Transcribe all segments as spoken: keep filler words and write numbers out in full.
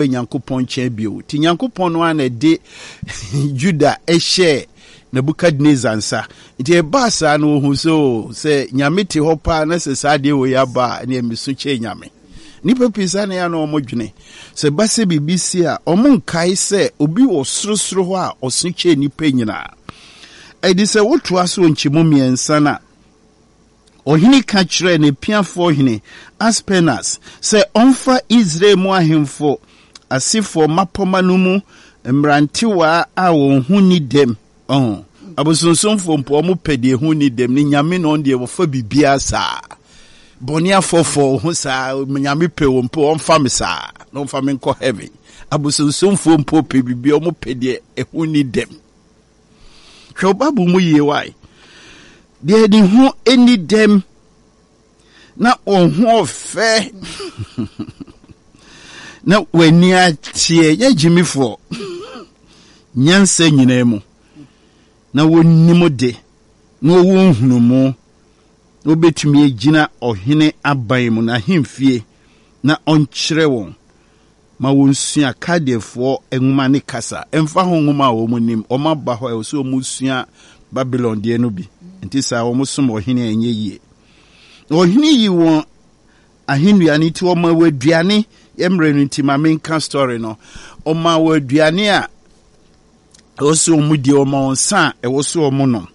Nyankopɔn nkyɛn bio. Nti Nyankopɔn no ara na ɛde Juda hyɛɛ Nebukadnesar nsa. Nti ɛbaa saa no wɔhu sɛ o, sɛ Nyame te hɔ paa na sɛ saa adeɛ wei aba a, ɛneɛ meso kyɛn Nyame. Nnipa pii saa na ɛyɛ a na wɔdwene. Sɛ ɛba sɛ biribi si a, wɔnkae sɛ obi wɔ sorosoro hɔ a ɔso kyɛn nnipa nyinaa. Ɛde sɛ wotoa so wɔ nkyɛmu mmiɛnsa no a, Ɔhene ka kyerɛɛ n'apiafoɔ hene Aspenas sɛ ɔmfa Israel mu ahemfo asefoɔ mmapɔmma no mu mmerantewaa a wɔn ho nni dɛm. Ɔho, abosonsomfoɔ mpo, wɔn pɛ deɛ ɛho nni dɛm, ne nyame na ɔno deɛ wɔfa biribiara saa. Bɔne afɔfɔ ho saa, nyame pɛ wɔn mpo, ɔmfa me saa, na ɔmfa me nkɔ heaven. Abosonsomfoɔ mpo pɛ biribiara, wɔn pɛ deɛ ɛho nni dɛm. Hwɛ wo Bible mu yie wae. Deɛ ne ho nni dɛm na wɔn ho ɔfɛ na w'ani ateɛ nyɛ gyimifoɔ nyansa nyinaa mu na wɔnim de na wɔwɔ nhunumu na wɔbɛtumi agyina ɔhene aban mu n'ahemfie na ɔnkyerɛ wɔn ma wɔnsua Kaldeafoɔ nwoma ne kasa, ɛmfa ho nwoma a wɔnim. Wɔaba hɔ a, ɛwɔ sɛ wɔsua Babilon deɛ no bi. Nti saa wɔsom ɔhene a ɛnyɛ yie. Na ɔhene yi wɔn ahennua no nti ɔma wɔ aduane, yɛ mmerɛ no nti ma menka story no. Ɔma wɔ aduane a ɛwɔ sɛ wɔn die, ɔma wɔn nsa a ɛwɔ sɛ wɔn nom.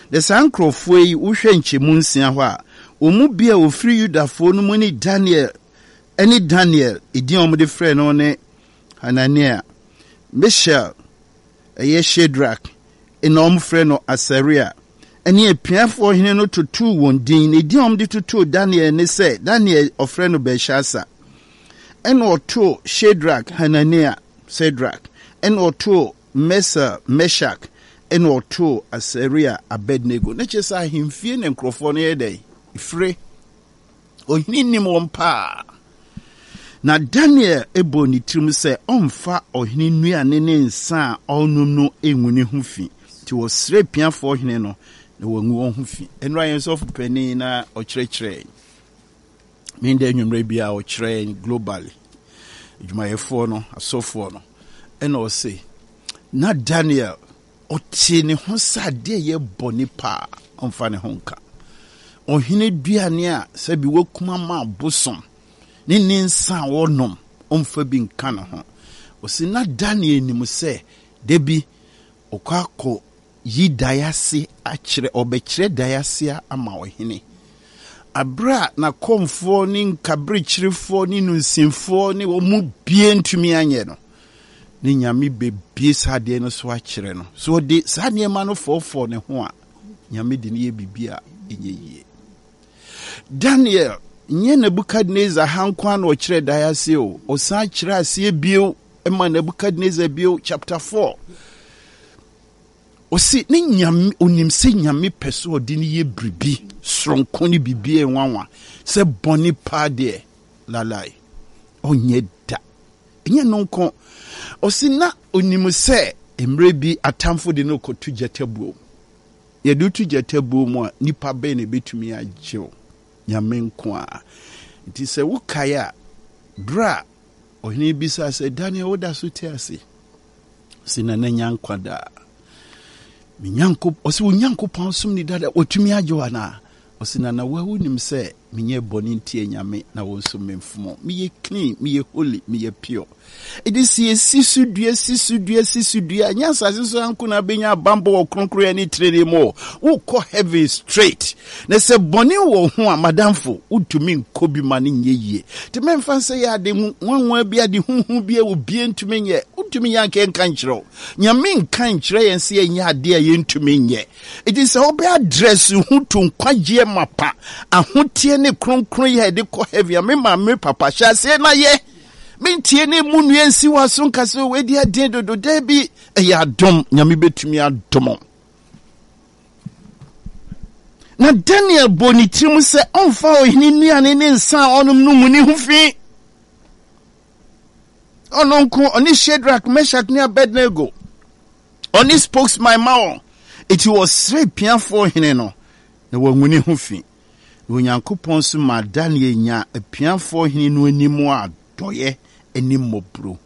Na saa nkurɔfoɔ yi, wohwɛ nkyɛmu nsia hɔ a, wɔn mu bi a wɔfiri Yudafoɔ no mu ne Daniel ne Daniel, edin a wɔde frɛ no ne Hanania, Mishael, ɛyɛ Shadrach, na wɔfrɛ no Asaria, ne apiafoɔ hene no totoo wɔn din. Na edin a wɔde totoo Daniel ne sɛ, Daniel ɔfrɛ no Belshazzar. Ɛna ɔtoo Shadrach Hanania, Shadrach, ɛna ɔtoo Mesel, Meshach, ɛna ɔtoo Asaria Abednego. Ne kyerɛ sɛ ahemfie na nkurɔfoɔ no yɛ dɛn? Fire. Ɔhene nim wɔn paa. Na Daniel bɔɔ ne tirim sɛ ɔmfa ɔhene nnuane ne nsa a ɔrenom no ngu ne ho fi. Nti wɔsrɛɛ piafoɔ hene no na wangu wɔn ho fi. Ɛnora yɛn sɔfo panin na ɔkyerɛkyerɛɛ me da anwummerɛ bi a ɔkyerɛ yɛn globally adwumayɛfoɔ no asɔfoɔ no ɛna ɔse na Daniel Ɔtee ne ho sɛ adeɛ a ɛyɛ bɔne paa, ɔmfa ne ho nka. Ɔhene aduane a sɛbi wakum ama abosom ne ne nsa a ɔnom, ɔmfa bi nka ne ho. Ɔsi na Daniel nim sɛ da bi ɔkɔ akɔ yi dae ase akyerɛ, ɔbɛkyerɛ dae ase ama ɔhene. Bere a n'akɔmfoɔ ne nkaberekyerefoɔ ne nunsinfoɔ ne wɔn mu bie ntumi anyɛ no, ne Nyame bɛbie saa adeɛ no so akyerɛ no. So ɔde saa nneɛma no fɔɔfɔɔ ne ho a, Nyame de no yɛ biribi a ɛnyɛ yie. Daniel nyɛ Nebukadnezar ha nko ara na ɔkyerɛ dae ase o, ɔsan kyerɛ aseɛ bio ma Nebukadnezar bio, chapter four. Ɔse ne Nyame, onim sɛ Nyame pɛ sɛ ɔde no yɛ biribi soronko ne biribi a ɛnwanwa, sɛ bɔne paa deɛ, lalai, ɔnyɛ da. Ɛnyɛ no nko, ɔse na onim sɛ mmerɛ bi atamfo de no rekɔto gyata buo mu. Yɛde wo to gyata buo mu a, nipa bɛn na ɛbɛtumi agye wo? Nyame nko ara. Nti sɛ wokae a, berɛ a ɔhene bisaa sɛ, Daniel, woda so te ase? Ɔse, Nana nya nkwa daa. Me Nyankopɔn, ɔse, wo Nyankopɔn som ni dada, watumi agye wo anaa? Ɔse, Nana, wo a wonim sɛ menyɛ bɔne ntia Nyame na wo nso memfom. Meyɛ clean, meyɛ holy, meyɛ pure. Ɛde sɛ yɛsi so dua, si so dua, si so dua, ɛnyɛ asase so anko na abɛnya abanbɔ wɔ kronkronyɛ ne trenee mu o. Wokɔ heaven straight. Na sɛ bɔne wɔ ho a, madamfo, wontumi nkɔ bi ma no nyɛ yie. Nti mɛmfa nsɛ yɛ ade nwanwa bi, ade huhu bi a obie ntumi nyɛ. Wontumi nyɛ anka yɛnka nkyerɛ wo. Nyame nka nkyerɛ yɛn sɛ yɛnyɛ adeɛ a yɛntumi nyɛ. Enti sɛ wobɛ address ho to nkwagyeɛ mapa, ahoteɛ ne kronkronyɛ a yɛde kɔ heaven a, me maame, me papa, hyɛ aseɛ na yɛ. Mentie ne mu nnua nsi w'aso nka sɛ wei deɛ ɛden dodo. Daabi, ɛyɛ adom. Nyame bɛtumi adom. Na Daniel bɔɔ ne tirim sɛ ɔmfa ɔhene nnuane ne nsa a ɔnom no ngu ne ho fi. Ɔno nko, ɔne Shadrach, Meshach ne Abednego. Ɔne spokesman ma wɔn. Enti wɔsrɛ apiafoɔ hene no na wangu ne ho fi. Na Onyankopɔn nso maa Daniel nyaa apiafoɔ hene no anim adɔeɛ ne mmɔborɔhunu.